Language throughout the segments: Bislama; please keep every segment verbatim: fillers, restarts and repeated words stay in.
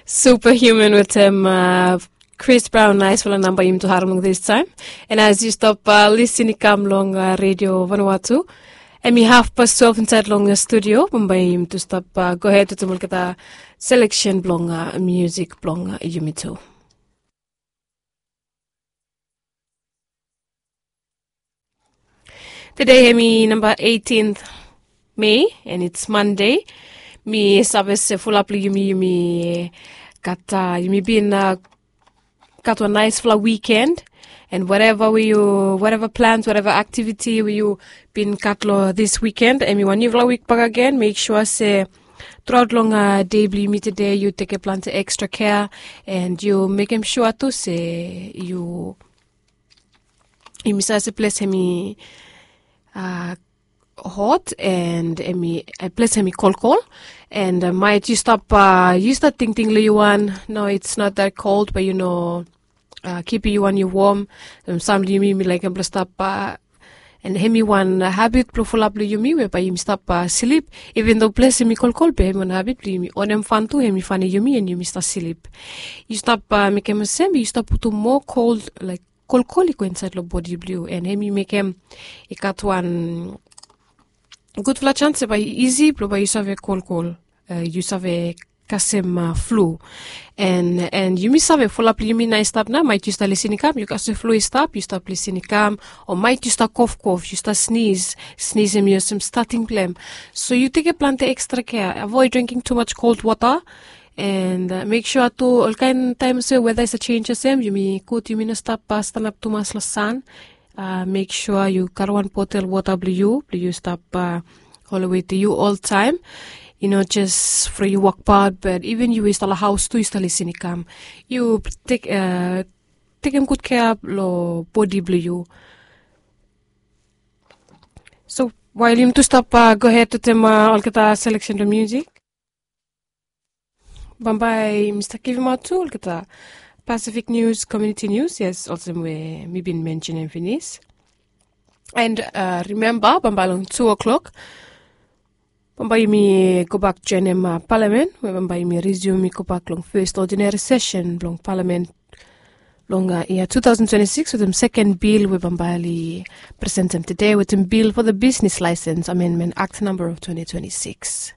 Superhuman wetem Chris Brown, naisfala namba yumi tu harem long distaem. And as yu stap lisin i kam long redio Vanuatu, em i haf pas twelve insaed long studio. Bambae yumi tu stap gohed wetem olgeta seleksen blong musik blong yumi tu. Tede em i namba eighteen May, and it's Monday. Mi save se fulap long yumi, yumi gat, yumi bin gat wan naisfala wikend. And whatever we yu, whatever plans, whatever activity we yu bin gat long this weekend, em i wan niufala wik bak agen. Make sure se truaot long dei blong yumi tede yu tekem plante extra care, and yu mekem sua tu se yu yumi save se ples em i hot, and em i ples em i kolkol. And maet yu stap, yu stap tingting long yu wan, no, it's not that cold, but yu no kipim yu wan yu wom. Sam long yumi yumi laekem blong stap, and em i wan habit blong fulap long yumi we bae yumi stap slip. Even though ples em i kolkol be em i wan habit blong yumi onem fan tu, em i fan long yumi, and yumi stap slip. Yu stap mekem olsem yu stap putum moa kol, laek kolkol i go insaed long bodi blong yu, and em i mekem i gat wan gudfala sans se bae isi blong bae yu save kolkol, yu save kasem flu. And yumi save fulap long yumi nao i stap nao, maet yu stap lisin i kam yu kasem flu i stap, yu stap lisin i kam, o maet yu stap kofkof, yu stap snis, snis em i olsem stating blong em. So yu tekem plante extra care, avoid drinking too much cold water. And mek sua tu olkaen taem olsem weda i save jenis olsem, yumi gud yumi no stap stanap tumas long san. Mek sua yu gat wan botel wota blong yu blong yu stap holem wetem yu oltaem. I no jes from yu wokbaot, but even yu we i stap long haos tu yu stap lisin i kam, yu tekem gud kea long bodi blong yu. So wael yumi tu stap gohed wetem olgeta seleksen blong musik, bambae mi stap givimaot tu olgeta Pacific News, Community News, yes, olsem we mi bin mensenem finis. And rimemba bambae long tu o'clock bambae yumi gobak joenem palamen we bambae yumi resume i gobak long fes odinari sesen blong palamen long yia two thousand twenty-six wetem seken bil we bambae oli presentem tede wetem bil for the Business License Amendment Act number of twenty twenty-six.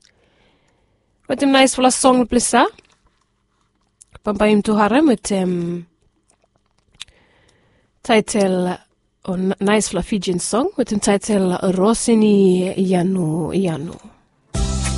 Wetem naesfala song blong ples ya bambae yumi tu harem wetem taetel, o naesfala Fijian song wetem taetel Rosini Yanu Yanu.